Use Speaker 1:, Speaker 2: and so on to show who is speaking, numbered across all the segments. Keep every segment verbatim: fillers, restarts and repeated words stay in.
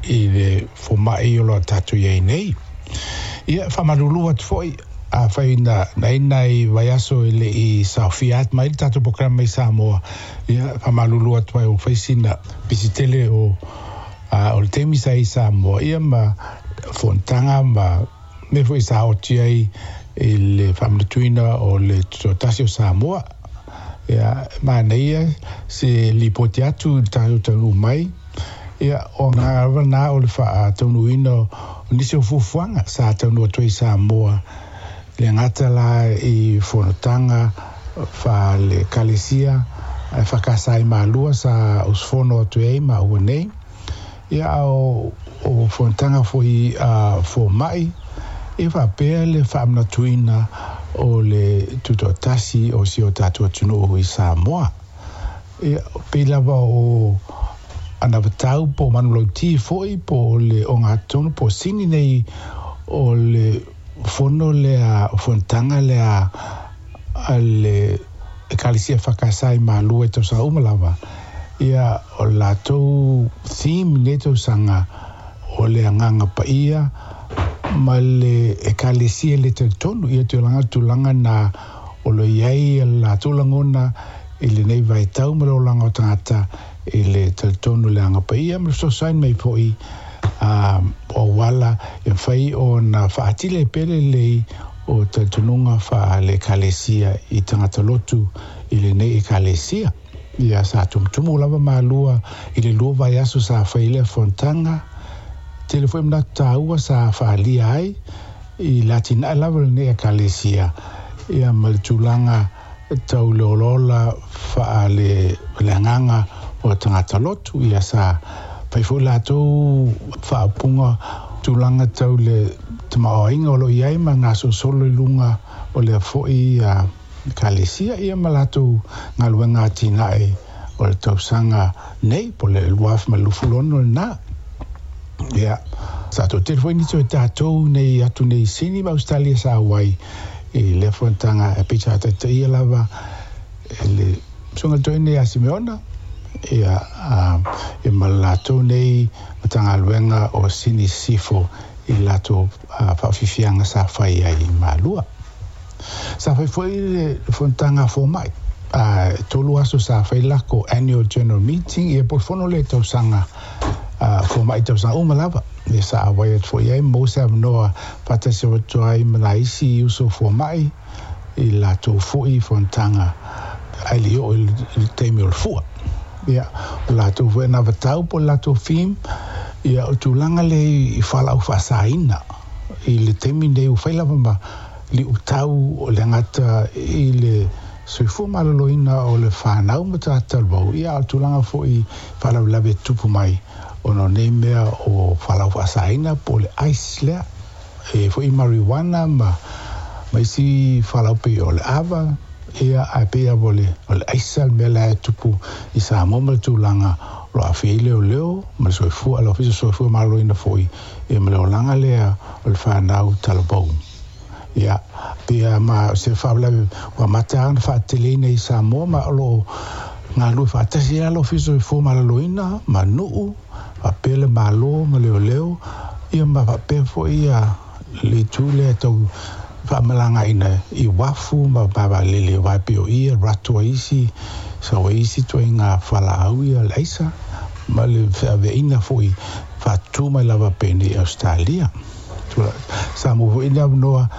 Speaker 1: I le fomaʻi o lo tatou iai nei. Ia, faamalulu atu foi afai na na nai vaiaso e leʻi saofia atu mai le tatou polokalame i Samoa. Ia, faamalulu atu ai ua fai sina pisi tele o o le taimi sa i Samoa, ia ma fonotaga ma mea foi sa oti ai i le faamanatuina o le Tutoatasi o Samoa. Ia, manaia se lipoti atu i le tatou taunuu mai. Ia, o agaga lava lena o le faataunuuina o nisi o fuafuaga sa taunuu atu ai i Samoa, le gata la i fonotaga faale-Ekalesia E F K S i Malua sa usufono atu ai maua nei. Ia, a o o fonotaga foi a fomaʻi e faapea le faamanatuina o le Tutoatasi o si o tatou atunuu i Samoa. Ia, pei lava o anavatau po o manulauti foi po o le ogatotonu po o sini nei o le fono lea, o fonotaga lea a le Ekalesia E F K S i Malua i tausaga uma lava. Ia, o le latou theme i lenei tausaga o le Agaga Paia ma le Ekalesia le talitonu. Ia tulaga tulaga na o lo i ai le latou lagona i lenei vaitau ma le olaga o tagata i le talitonu le Agaga Paia ma le fesoasoani mai foi o auala e mafai ona faatili ai pea lelei o talitonuga faale-Ekalesia i tagata lotu i lenei Ekalesia. Ia, sa tumutumu lava Malua i le lua vaiaso sa fai lea fonotaga. Tele foi manatu taua sa faaalia ai i le atinae lava o lenei Ekalesia, ia ma le tulaga tau le olaola faale le agaga o tagata lotu. Ia, sa fai foi latou faaupuga tulaga tau le tamaoaiga o lo o i ai ma gasolosolo i luga o lea foi Ekalesia, ia ma latou galuega atinae o le tausaga nei po o le lua afe ma le luasefulu ono lena. Ia, sa toatele foi nisi o tatou nei atu nei i Sini ma Ausetalia sa auai i lea fonotaga e pei sa taitaia lava e le susuga toeaina ia Simeona, ia, ia ma le latou nei Matagaluega o Sini Sisifo i le latou faafiafiaga sa fai ai i Malua. Sa fai foi le fonotaga fomaʻi a tolu aso sa fai lako annual general meeting, ia po o le fono lea tausaga fomaʻi tausaga uma lava. Ia, sa auai atu foi ai mo se avanoa faatasi atu ai ma nai isi uso fomaʻi i latou foi fonotaga ae le i oo i le taimi o le fua. Ia, o latou foi anavatau po o le latou theme, ia, o tulaga lea i fualaau faasaina i le taimi nei ua fai lava ma liutau o le agata i le soifua maloloina o le fanau ma tagata talavou. Ia, a o le tulaga foi faalavelave e tupu mai ona o nei mea o fualaau faasaina po o le ice lea e foi marijuana ma ma isi fualaau pei o le ava. Ia, ae pei lava o le o le aisa le mea la e tupu i Samoa ma le tulaga o lo aafia ai leoleo ma le soifua le Ofisa Soifua Maloloina foi, ia ma le olaga lea o le fanau talavou. Ia, pei ma se faalavelave ua amata ona faateteleina i Samoa, ma o lo o galulue faatasi ai le Ofisa Soifua Maloloina ma nuu faapea le Malo ma leoleo, ia ma faapea foi ia le itu lea tau faamalagaina i uafu ma vaalele aua e pei o i e alu atu ai isi sau ai isi ituaiga fualaau ia le aisa ma le feaveaiga foi faatutu mai lava penei i Ausetalia. Sa maua foi le avanoa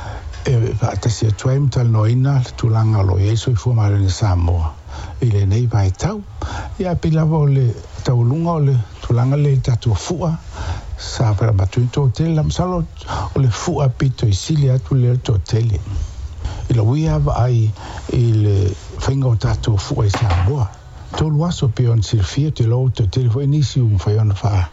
Speaker 1: e faatasi atu ai ma talanoaina le tulaga o lo o i ai soifua maloloina Samoa i lenei vaitau. Ia, pei lava o le taualuga o le tulaga lea i le tatou fua sa faamatuina toatele la. Masalo o le fua pito i sili atu lea le toatele i lou ia vaai i le faiga o tatou fua i Samoa. Tolu aso pei ona silafia te iloa ua toatele foi nisi ua mafai ona faa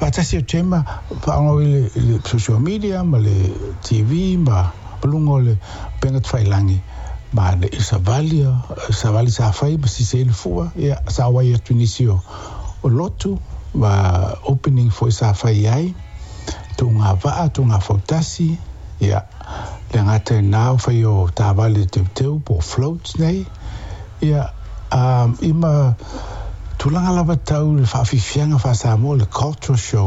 Speaker 1: faatasi atu ai ma faaaoga i le, le social media ma le T V ma luga o le upega tafailagi ma le savali savali sa fai ma sisi ai le fua. Ia, sa auai atu nisi o, o lotu ma opening foi sa fai ai tuuga vaa tuuga fautasi. Ia, le gata i lena o fai o taavale teuteu po o floats nei. Ia, um, i ma Tulaga lava tau le faafiafiaga faa-Samoa, le cultural show.